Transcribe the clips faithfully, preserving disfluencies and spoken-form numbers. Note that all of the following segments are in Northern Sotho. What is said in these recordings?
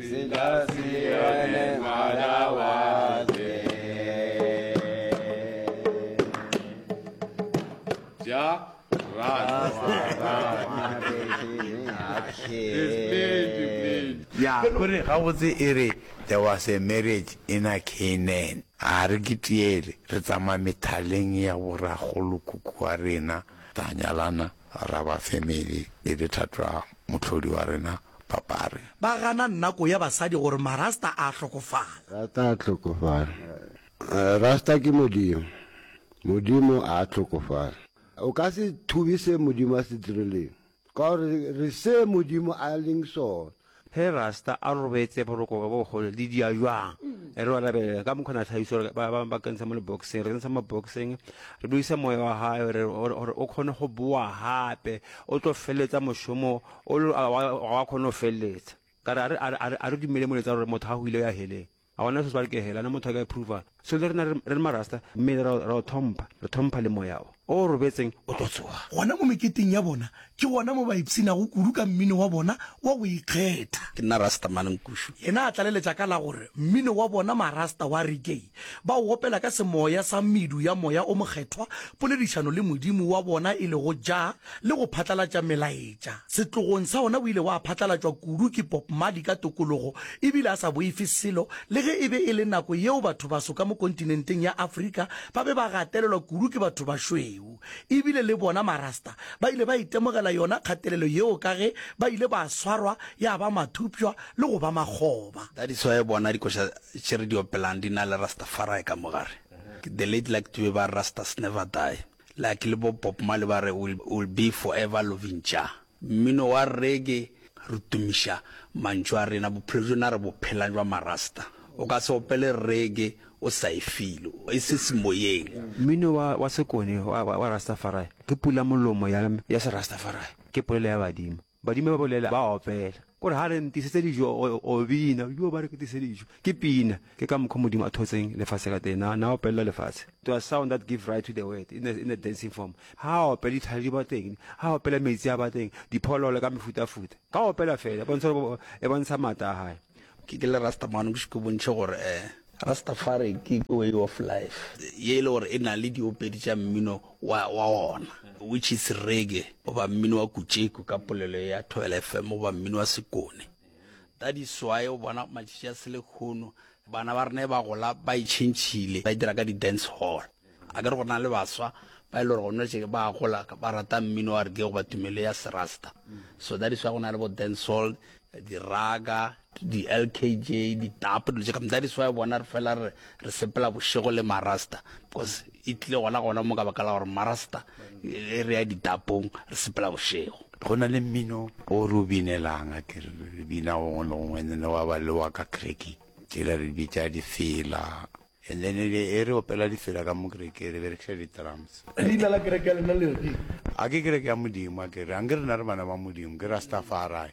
Selassie Madawaze. Ja Ya, kore gabotse e re there was a marriage in a Canaan. A re ke tiele, re tsamaya methaleng ya borakgolokhukhu wa rena, ra nyalana, ra ba family e le thato ya mohlodi wa rena, papa re. Ba gana nako ya basadi gore marasta a hlokofala. Rasta a hlokofala. Rasta ke Modimo. Modimo a hlokofala. O ka se thube se Modimo a se dirileng, ka gore re se Modimo a leng sona. Ge Rasta a robetse boroko bo bogolo le dia jwang? Re ba rabelela ka mokgwa na tlhagiso gore ba ba ba kentsha mo leboxeng, re kentsha mo boxeng, re buisa moya wa hae gore gore o kgone go boa hape, o tlo feletsa mošomo o lo wa wa kgone go feleletsa. Ka re a re a re a re dumele moletsa gore motho ha hwile o ya heleng. Ga gona se se ba re ke hela, na motho a ka approva. So le rena re le marasta, mmele ra ra o thompha, re thompha le moya o. O robetseng o tlo tsoga. Gona mo meketeng ya bona ke gona mo ba ipshinago kudu ka mmino wa bona wa go ikgetha. Ke nna Rastaman Nkushu. Yena a tlaleletša ka la gore mmino wa bona marasta wa reggae ba o opela ka semoya sa medu ya moya o mokgethwa, poledišano le Modimo wa bona e lego Jah le go phatlalatša melaetša. Setlogong sa ona o ile wa phatlalatšwa kudu ke Bob Marley ka tokologo ebile a sa boife selo le ge e be e le nako yeo bathobaso ka mo kontinenteng ya Afrika ba be ba gatelelwa kudu ke bathobašweu. Ebile le bona Marasta ba ile ba itemogela yona kgatelelo yeo ka ge ba ile ba swarwa ya ba mathupšwa le go ba makgoba. That is why bona dikoša tše re di opelang di na le Rastafari ka mo gare. The late Lucky Dube ba re Rastas never die. Like le bo Bob Marley ba re we'll, we'll be forever loving Jah. Mmino wa reggae re tumiša mantšu a rena, bophelo bjona re bo phelang bja marasta. O ka se opele reggae o sa e feel, e se semoyeng. Mmino wa, wa sekone wa, wa, wa Rastafari ke pula molomo ya, ya Serastafari, ke polelo ya badimo. Badimo ba bolela, ba opela. Kore ha re ntisetse dijo, o, o bina, yo ba re ke tise dijo. Ke pina. Ke ka mokgwa Modimo a thotseng lefase ka teng. Na, na opelela lefatshe. To a sound that give right to the word in a, in a dancing form. Ha a opela ditlhare di ba teng, ha a opela metsi a ba teng, diphologolo ka mefutafuta. Ka opela fela, e bontsha gore e bontsha maatla a hae. Ke ke le Rastaman ke ke bontšhe gore eh Rastafari ke way of life ye e le gore e na le diopedi tša mmino wa wa ona which is reggae goba mmino wa kutšeku ka polelo ya Thobela F M goba mmino wa sekone. That is why o bona matšatši a selekgono bana ba rena ba gola ba itšhentšhile ba dira ka di-dance hall. A ke re go na le baswa ba e le gore gona tše ba gola ba rata mmino wa reggae goba tumelo ya serasta. So that is why go na le bo dance hall, di-raga, di-L K J, di-tap, dilo tše ka. That is why bona re fela re, re sepela bošego le marasta because e tlile gona gona mo ka baka la gore marasta e re ya ditapong re sepela bošego. Go na le mmino o re o binelang, a ke re re bina gongwe le gongwe, and then wa ba le wa ka kerekeng tšela re bitša difela, and then e re opela difela ka mo kerekeng re berekiša di-drums. Leina la kereke ya lena le re keng? A ke kereke ya Modimo, a ke re anke rena re bana ba Modimo, ke Rastafari.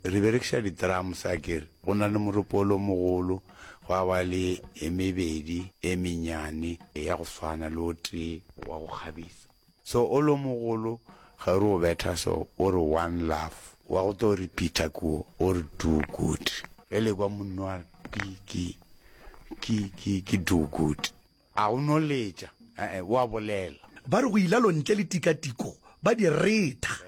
Re berekiša di-drums, a ke re go na le moropolo mogolo, gwa ba le e mebedi e mennyane ya go swana le o tee wa go kgabisa. So o lo mogolo ge re o betha so o re one love, wa go tlo repeater kuo o re do good. Ge le kwa monno a re ke, ke, ke, ke, ke do good, a go no letša, eh, eh, o a bolela. Ba re go ilalo ntle le tikatiko ba di retha.